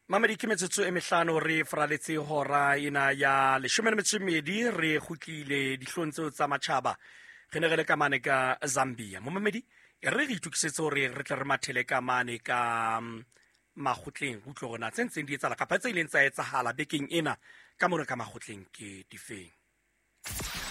Mamedi, ke metsotso e mehlano re faraletse hora ena ya 12 re kgutlile dihlong tseo tsa matjhaba. Re ne re le ka mane ka Zambia. Momamedi, e re re itokisetse hore re tle re mathele ka mane ka makgotleng, re utlwe hore na tse ntseng di etsahala kapa tse ileng tsa etsahala bekeng ena ka mona ka makgotleng ke difeng.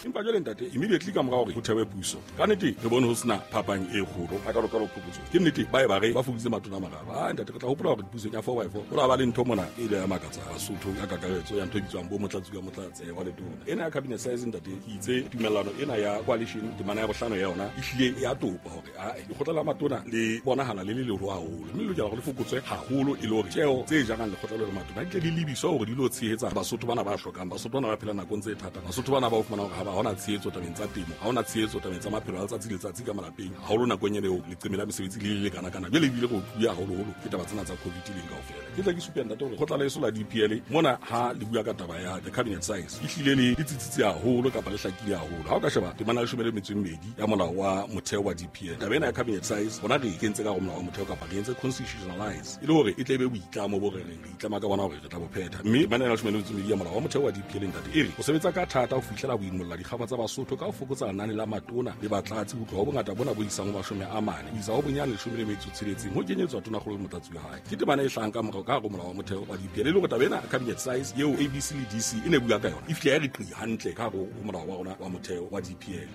Empa jwale ntate, immediately ka mora hore ho thewe puso, ka nnete re bone ho sena phapang e kgolo hakalokalo phokotso. Ke nnete ba e ba re ba fokoditse matona a mararo. A ntate, re tla hopola hore pusong ya four by four ho la ba le ntho mona e ile ya makatsa Basotho ka kakaretso ya ntho e bitswang bo motlatsi ka motlatse wa letona. Ena ya cabinet size ntate, ke itse tumellano ena ya coalition temana ya bohlano ya yona e hlile ya topa hore a lekgotla la matona le bonahala le le leholo haholo, mme le lokela hore le fokotswe haholo e le hore tjeo tse jarang lekgotla le matona di tle di lebiswe hore di lo tshehetsa Basotho bana ba hlokang, Basotho bana ba phelang nakong tse thata, Basotho bana ba o fumana hore ha ba hona tshehetso tabeng tsa temo, ha hona tshehetso tabeng tsa maphelo a letsatsi le letsatsi ka malapeng, haholo nakong ena eo leqeme la mesebetsi le le lekana-kana. Jwale ebile re otluwe haholoholo ke taba tsena tsa COVID leng kaofela. Ke tla ke supe ntate hore kgotla leso la DPL mona ha le bua ka taba ya the cabinet size e hlile le tsitsitse haholo kapa le hlakile haholo. Ha o ka sheba temana ya 12 ya molao wa motheo wa DPL, taba ena ya cabinet size bona re e kentse ka go molao wa motheo kapa re entse constitutionalize e le hore e tle be boitlamo bo re reng re itlama ka bona hore re tla bo phetha. Mme temana ya 12 ya molao wa motheo wa DPL ntate e re ho sebetsa ka thata ho fihlela ho imolla dikgaba tsa Basotho ka ho fokotsa lenane la matona le batlatsi ho tloha ho bongata bona bo isang ho 40 ho isa ho bonyane 16 ho kenyetswa tonakgolo le motlatsi wa hae. Ke temana e hlahang ka morao ka hare ho molao wa motheo wa DPL, e le hore taba ena cabinet size eo ABC le DC e ne bua ka yona e fihla ya re qi hantle ka hare ho molao wa rona wa motheo wa DPL.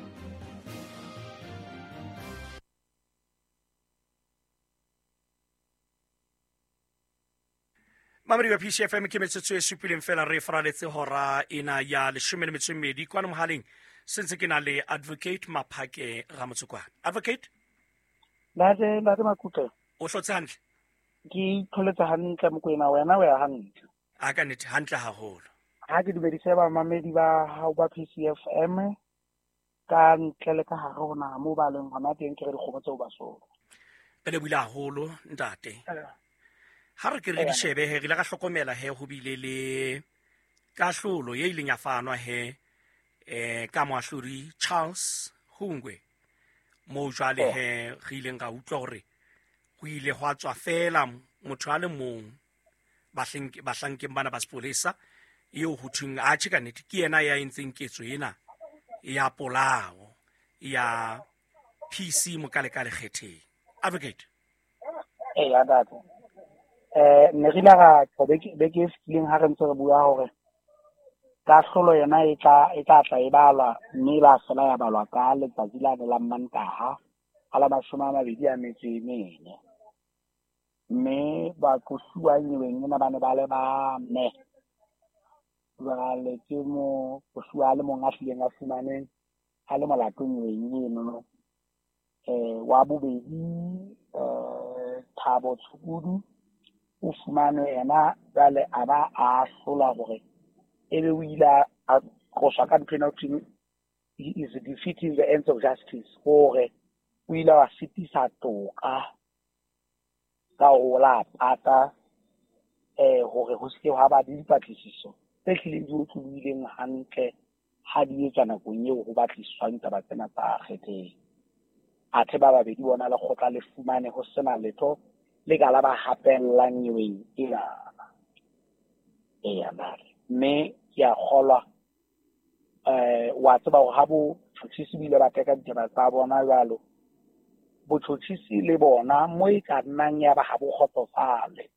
Mamedi wa PCFM, ke metsotso e supileng fela re faraletse hora ena ya 12 kwano mohaleng. Sentse ke na le Advocate Maphake Ramotsokwane. Advocate? Ntate, ntate Makutle. O hlotse hantle? Ke itlholetse hantle Mokoena, wena o ya hantle. A ka nnete hantle haholo. Ha ke dumedise bamamedi ba hao ba PCFM ka ntle le ka hare ho naha moo ba leng hona teng, ke re dikgomo tseo ba solo. Re lebohile haholo ntate. Ha re ke re di shebe he, re ile ra hlokomela he ho bile le kahlolo ye ileng ya fanwa he ka moahlodi Charles Hungwe, moo jwale he re ileng ra utlwa hore ho ile hwa tswa fela motho a le mong bahlankeng bana ba sepolesa eo ho thweng atjhe ka nnete ke yena ya entseng ketso ena ya polao ya PC Mokalekale Kgetheng. Advocate. Eya ntate. Ne re ile ra tjho beke e fetileng ha re ntse re bua hore kahlolo yona e tla tla e balwa, mme ba fela ya balwa ka letsatsi la la Mantaha a la 24. Mme baqosuwa nyeweng ena ba ne ba le bane. Jwale ke moqosuwa a le mong a hlileng a fumanweng a le molato nyeweng enono. Wa bobedi Thabo Tshukudu o fumanwe yena jwale a ba a ahlolwa hore ebe o ile a qoswa ka ntho ena ho thweng he is defeating the ends of justice, hore o ile wa sitisa toka ka ho la pata hore ho se ke hwa ba le dipatlisiso tse hlileng di otlolohileng hantle ha di etswa nakong eo ho batlisiswang taba tsena tsa Kgetheng. Athe ba babedi bona lekgotla le fumane ho sena letho le ka la ba hapellang nyeweng ena. Eya ntate, mme ke a kgolwa wa tseba hore ha botjhotjhisi bo ile ba teka ditaba tsa bona jwalo, botjhotjhisi le bona mo e ka nnang ya ba ha bo kgotsofale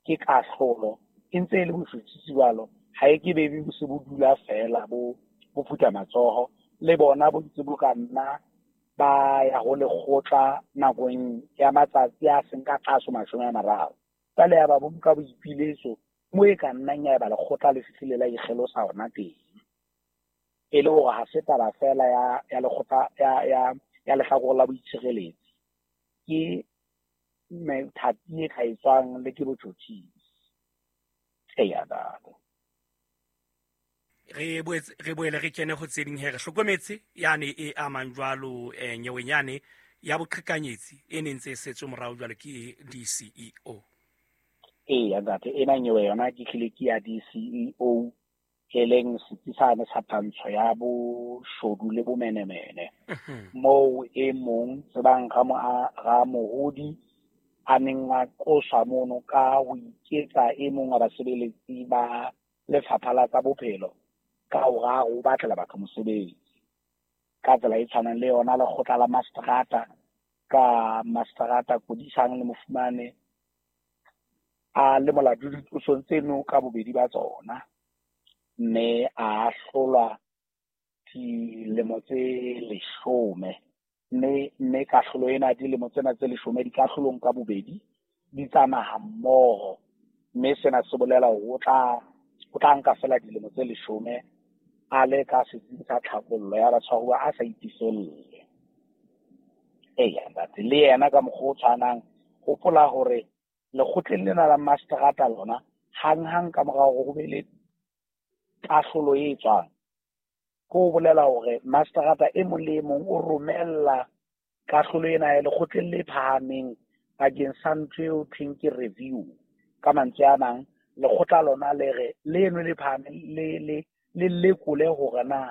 ke kahlolo e ntse e le botjhotjhisi jwalo, ha e ke be bo se bo dula fela bo phutha matsoho, le bona bo ntse bo ka nna ba ya ho lekgotla nakong ya matsatsi a seng ka tlase 30. Jwale ya ba bo nka boipiletso mo e ka nnang ya eba lekgotla le fihlile la ikgelosa hona teng, e le hore ha se taba fela ya lekgotla ya lehlakore la boitshireletsi, ke methati e ka etswang le ke botjhotjhisi. Eya ntate. Re boele re kene ho tse ding he, re hlokometse yane e amang jwalo nyeweng yane ya boqhekanyetsi e neng ntse e setswe morao jwalo ke DCEO. Eya ntate, ena nyewe yona ke hlile ke ya DCEO, e leng setsi sane sa tantsho ya boshodu le bomenemene. Moo e mong tsebang Ramohodi a neng a qoswa mono ka ho iketsa e mong wa basebeletsi ba lefapha la tsa bophelo ka hore a re o batlela batho mosebetsi. Ka tsela e tshwanang le yona lekgotla la mastrata ka mastrata Kodisang le Mofumane a le molato diqosong tseno ka bobedi ba tsona, mme a ahlolwa dilemo tse 10. Mme kahlolo ena dilemo tsena tse 10 dikahlolong ka bobedi di tsamaya mmoho, mme sena se bolela hore o tla nka fela dilemo tse 10 a le ka setsing sa tlhabollo ya batshwaruwa a sa itiselle. Eya ntate, le yena ka mokgwa o tshwanang, hopola hore lekgotleng lena la mastrata lona hanghang ka mora hore ho be le kahlolo e tswang, ko bolela hore mastrata e mong le e mong o romella kahlolo ena ya lekgotleng le phahameng bakeng sa ntho eo thweng ke review. Ka mantswe a mang, lekgotla lona le re leno le phahameng le lekole hore na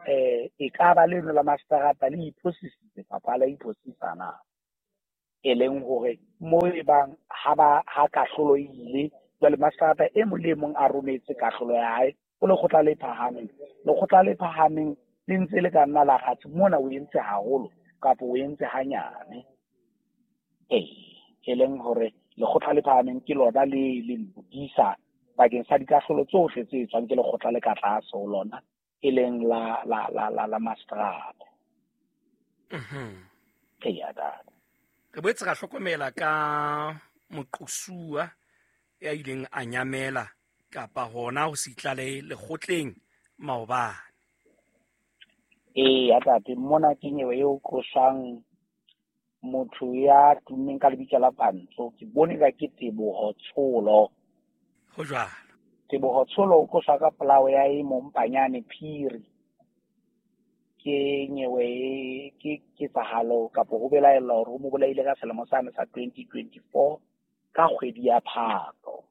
e ka ba leno la mastrata le iphosisitse kapa la iphosisa na. E leng hore mo e bang ha kahlolo e ile jwale mastrata e mong le e mong a rometse kahlolo ya hae ho lekgotla le phahameng. Lekgotla le phahameng le ntse le ka nna la kgatse mona o entse haholo kapa o entse hanyane. E leng hore lekgotla le phahameng ke lona le le lokisa bakeng sa dikahlolo tsohle tse tswang ke lekgotla le ka tlase ho lona, e leng la la la la la mastrata. Eya ntate. Re boetse ra hlokomela ka moqosuwa ya ileng a nyamela kapa hona ho se itlalehe lekgotleng maobane. Eya ntate, mona ke nyewe eo qoswang motho ya tummeng ka lebitso la Pantso. Ke bone ka ke Teboho Tsholo. Ho jwalo. Teboho Tsholo o qoswa ka polao ya e mong Panyane Phiri. Ke nyewe ke ketsahalo kapa ho belaellwa hore o mo bolaile ka selemo sane sa 2024 ka kgwedi ya Phato.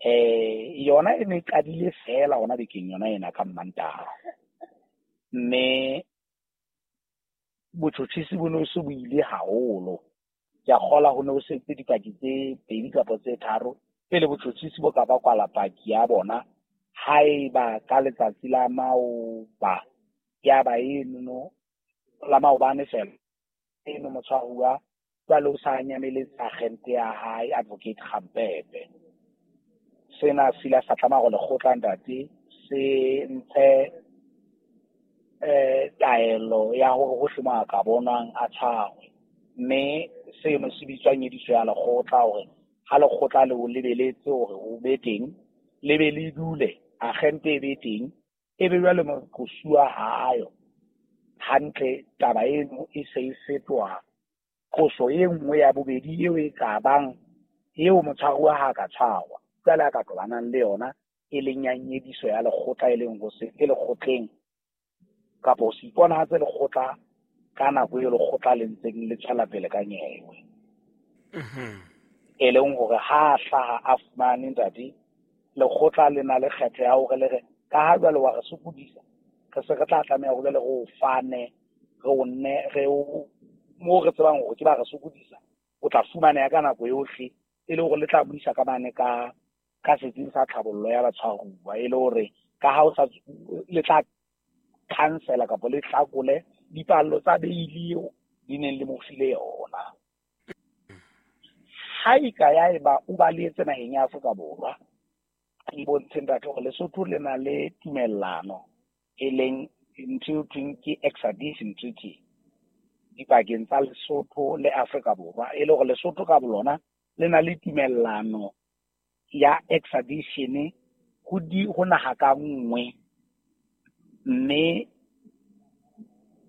Yona e ne qadile fela hona bekeng yona ena ka Mmantaha. Mme botjhotjhisi bo ne se bo ile haholo. Ke a kgola ho ne ho setse dipaki tse 2 kapa tse 3 pele botjhotjhisi bo ka ba kwala paki ya bona. Haeba ka letsatsi la maoba ya ba eno la maobane fela eno motshwaruwa jwale o sa nyameletse agente ya hae Advocate Kgampepe. Sena se ile sa tlameha hore lekgotla ntate se ntshe taelo ya hore hohle mo a ka bonwang a tshwarwe. Mme seno se bitswa nyediso ya lekgotla hore ha lekgotla le o lebeletse hore o be teng, le be le dule, agente e be teng, e be jwale moqosuwa ha ayo. Hantle taba eno e se e fetoha qoso e nngwe ya bobedi eo e ka bang eo motshwaruwa ha ka tshwarwa jwale a ka tobanang le yona, e leng ya nyediso ya lekgotla, e leng ho se ke lekgotleng kapa ho se iponahatse lekgotla ka nako eo lekgotla le ntseng le tswela pele ka nyewe. E leng hore ha hlaha a fumane ntate, lekgotla le na le kgetho ya hore le re ka ha jwale wa re sokodisa, re se re tla tlameha hore jwale re o fane, re o nne, re o mo re tsebang hore ke ba re sokodisa, o tla fumaneha ka nako yohle, e le hore le tla buisa ka mane ka setsing sa tlhabollo ya batshwaruwa, e le hore ka ha o sa le tla cancela kapa le hlakole dipallo tsa beili eo di neng le mo file yona. Ha e ka ya eba o balehetse naheng ya Afrika Borwa, e bontshe ntate hore Lesotho le na le tumellano e leng ntho eo thweng ke extradition treaty dipakeng tsa Lesotho le Afrika Borwa, e le hore Lesotho ka bolona le na le tumellano ya extradition ho naha ka nngwe. Mme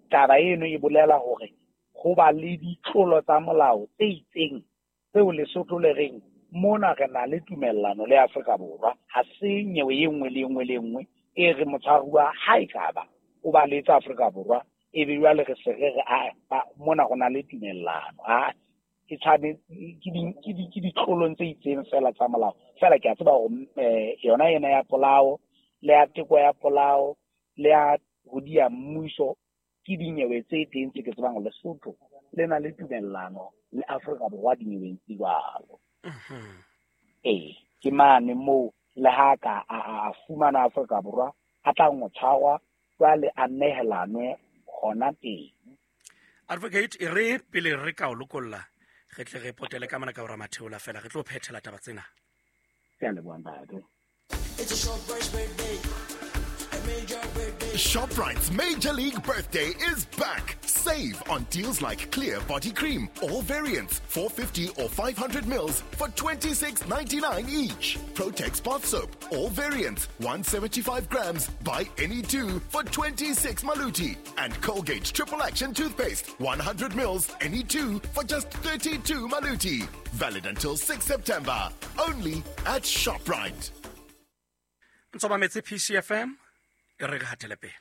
taba eno e bolela hore ho ba le ditlolo tsa molao tse itseng tseo Lesotho le reng mona re na le tumellano le Afrika Borwa, ha se nyewe e nngwe le nngwe le nngwe e re motshwaruwa ha e ka ba o balehetse Afrika Borwa, e be jwale re se re re mona go na le tumellano. Ha e tshwane ke ditlolong tse itseng fela tsa molao. Fela ke a tseba hore yona ena ya polao le ya teko ya polao le ya ho diya mmuso ke dinyewe tse teng tse ke tsebang Lesotho le na le tumellano Le Afrika Borwa dinyeweng tse jwalo. Ee, ke mane moo le ha ka a fumana Afrika Borwa a tla ngo tshwarwa jwale a nehelanwe hona teng. Advocate, e re pele re ka o lokolla, re tle re potele ka mona ka ora matheola fela, re tlo phethela taba tsena. Ke a leboha, ntate. ShopRite's Major League Birthday is back. Save on deals like Clear Body Cream, all variants, 450 or 500 mils for 26.99 each. Protex Bath Soap, all variants, 175 grams, buy any two for 26 maluti. And Colgate Triple Action Toothpaste, 100 mils, any two for just 32 maluti. Valid until 6 September. Only at ShopRite. Ntse ba metse PCFM, e re re hatele pele.